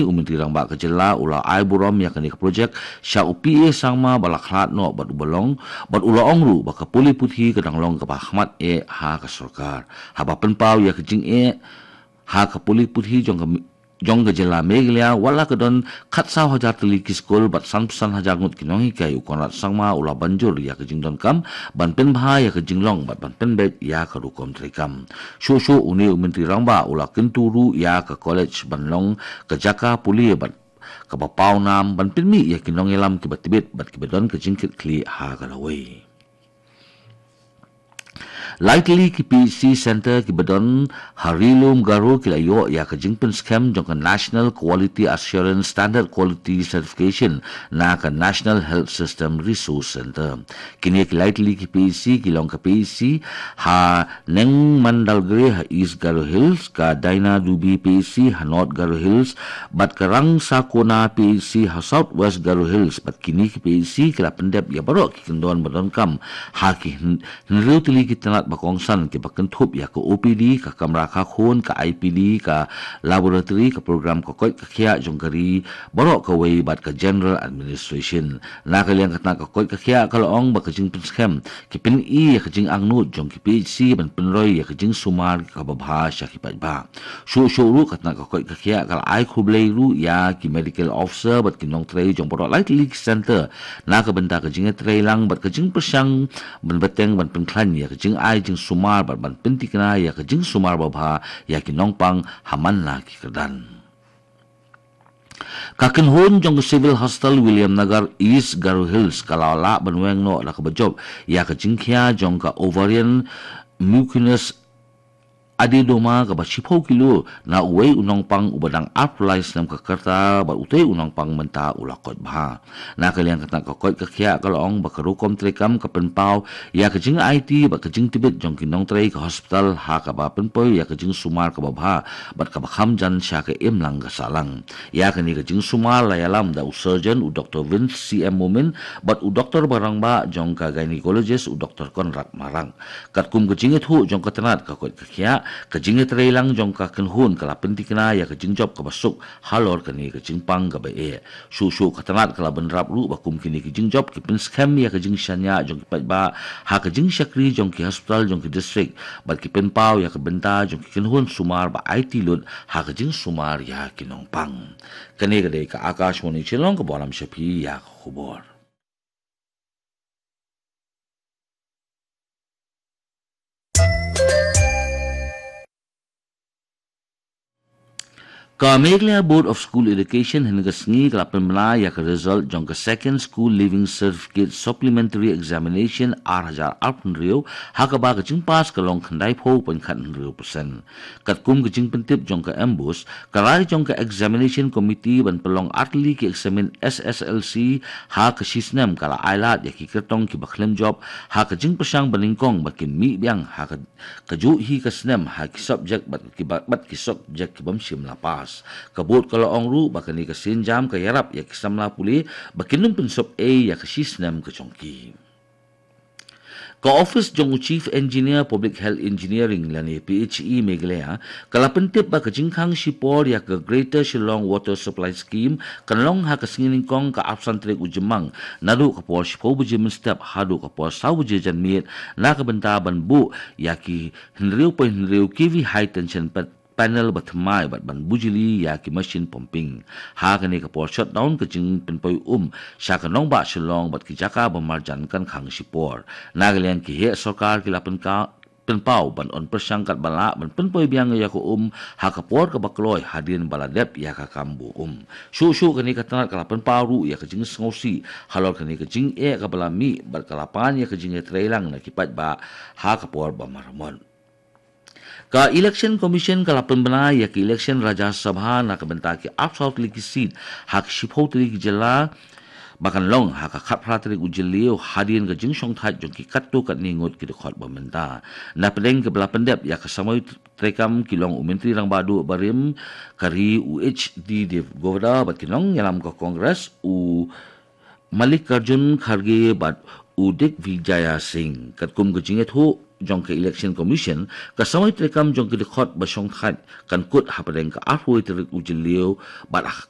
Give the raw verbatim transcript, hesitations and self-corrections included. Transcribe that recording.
U Myntri Rangbah ka jylla u la ai burom ïa kane ka projek sha u P A Sangma ba la khlad noh bad u ba long, bad u la ong ruh ba ka pule puthi ka dang long kaba ha khmat eh ha ka sorkar. Haba pynpaw ïa ka jingeh ha ka pule puthi jong ka, jong ka jylla Meghalaya, wat la ka don khatsaw hajar tylli ki skul bad sanphew san hajar ngut ki nonghikai, u Conrad Sangma u la ban jur ïa ka jingdonkam ban pynbha ïa ka jinglong bad ban pynbeit ïa ka rukom treikam. Shuh shuh une u Myntri Rangbah u la kyntu ruh ïa ka college ban long ka jaka pule bad kaba pawnam ban pynmih ïa ki nongïalam kiba tbit bad kiba don ka jingkitkhlieh ha ka lawei. Lai tylli ki P H C Center kiba don ha Ri-lum Garo ki la ïoh ïa ka jingpynskhem jong ka National Quality Assurance Standard Quality Certification na ka National Health System Resource Center. Kine ki lai tylli ki P H C ki long ka P H C ha Nengmandalgre ha East Garo Hills, ka Daina Dubi P H C ha North Garo Hills, bad ka Rangsakona P H C ha South West Garo Hills, bad kine ki P H C ki la pyndep ïa baroh ki kyndon ba donkam ha ki hyn-, hynriew tylli ki tnat ba kongsan kiba kynthup ïa ka O P D, ka kamra kha khun, ka I P D, ka laboratory, ka program ka koit ka khiah jong ka ri baroh kawei bad ka general administration. Na ka liang ka tnat ka koit ka khiah ka la ong ba ka jingpynskhem ki pyni ïa ka jingangnud jong ki P H C ban pynroi ïa ka jingsumar kaba bha sha ki paidbah. Shuh shuh ruh ka tnat ka koit ka khiah ka la ai khublei ruh ïa ki medical officer bad ki nongtrei jong baroh lai tylli ki center na ka bynta ka jingïatreilang bad ka jingpyrshang ban bteng ban pynkhlaiñ ïa ka jingai jingsumar bad ban pyntikna ïa ka jingsumar ba bha ïa ki nongpang ha man la ki kyrdan. Ka kynhun jong ka Civil Hospital Williamnagar East Garo Hills ka la lah ban weng noh da kaba jop ïa ka jingkhia jong ka ovarian mucinous adenoma kaba shiphew kilo na uwei u nongpang uba dang arphew lai snem ka rta bad utei u nongpang mynta u la koit bha. Na ka liang ka tnat ka koit ka khiah ka la ong ba ka rukom treikam ka pynpaw ïa ka jingaiti bad ka jingtbit jong ki nongtrei ka hospital ha kaba pynpoi ïa ka jingsumar kaba bha bad kaba kham jan sha ka imlang ka sahlang. Ïa kane ka jingsumar la ïalam da u surgeon u Doctor Vince C M Momin bad u doktor ba rangbah jong ka gynecologist u Doctor Conrad Marak. Katkum ka jingïathuh jong ka tnat ka koit ka khiah, ka jingïatreilang jong ka kynhun ka la pyntikna ïa ka jingjop kaba suk halor kane ka jingpang kaba eh. Shuh shuh ka tnat ka la bynrap ruh ba kum kine ki jingjop ki pynskhem ïa ka jingshaniah jong ki paidbah ha ka jingshakri jong ki hospital jong ki district bad ki pynpaw ïa ka bynta jong ki kynhun sumar ba aiti lut ha ka jingsumar ïa ki nongpang. Kane ka dei ka Akashvani Shillong kaba lam sha phi ïa ka khubor. Ka Meghalaya Board of School Education hynne ka sngi ka la pynbna ïa ka result jong ka Second School Leaving Certificate Supplementary Examination ar hajar arphew hynriew, ha kaba ka jingpass ka long khyndaiphew point khathynriew percent. Katkum ka jingpyntip jong ka MBOSE, ka rai jong ka Examination Committee ban pynlong artylli ki eksamin S S L C ha ka shisnem ka la ailad ïa ki kyrtong kiba khlem jop ha ka jingpyrshang banyngkong ba kin mih biang ha ka kajuh hi ka snem ha ki subject bad ki ba-, bad ki subject ki bym shym la pass. Ka board ka la ong ruh ba kane ka sienjam ka ïarap ïa ki samla pule ba kin ym pynsop ei ïa ka shisnem ka jong ki. Ka office jong u Chief Engineer Public Health Engineering lane P H E Meghalaya ka la pyntip ba ka jingkhang shipor ïa ka Greater Shillong Water Supply Scheme kan long ha ka sngi nyngkong ka arphew san tarik u Jymmang, naduh ka por shiphew baje mynstep haduh ka por saw baje janmiet, na ka bynta ban buh ïa ki hynriew point hynriew K V high tension pa-, panel ba thymmai bad ban bujli ïa ki machine pumping. Ha kane ka por shutdown ka jingpynpoi um sha ka nongbah Shillong bad ki jaka ba marjan kan khang shipor. Na ka liang ki heh sorkar ki la pynka-, pynpaw ban on pyrshang katba lah ban pynpoi biang ïa ka um ha ka por kaba kloi hadien ba la dep ïa ka kam buh um. Shuh shuh kane ka tnat ka la pynpaw ruh ïa ka jingsngewsih halor kane ka jingeh kaba la mih bad ka la pan ïa ka jingïatreilang na ki paidbah ha ka por ba maramot. Ka Election Commission ka la pynbna ïa ka election Rajya Sabha na ka bynta ki arphew saw tylli ki seat ha ki shiphew tylli ki jylla ba kan long ha ka khatphra tarik u Jylliew hadien ka jingshongthait jong ki katto katne ngut ki dkhot ba mynta. Na pdeng kaba la pyndep ïa ka samoi treikam ki long u Myntri Rangbah Duh barim ka ri u H D Devgowda bad ki nongïalam ka Congress u Mallikarjun Kharge bad u Digvijay Singh. Katkum ka jingïathuh jong ka Election Commission, ka samoi treikam jong ki dkhot ba shongthait kan kut hapdeng ka arphew tarik u Jylliew bad ha ka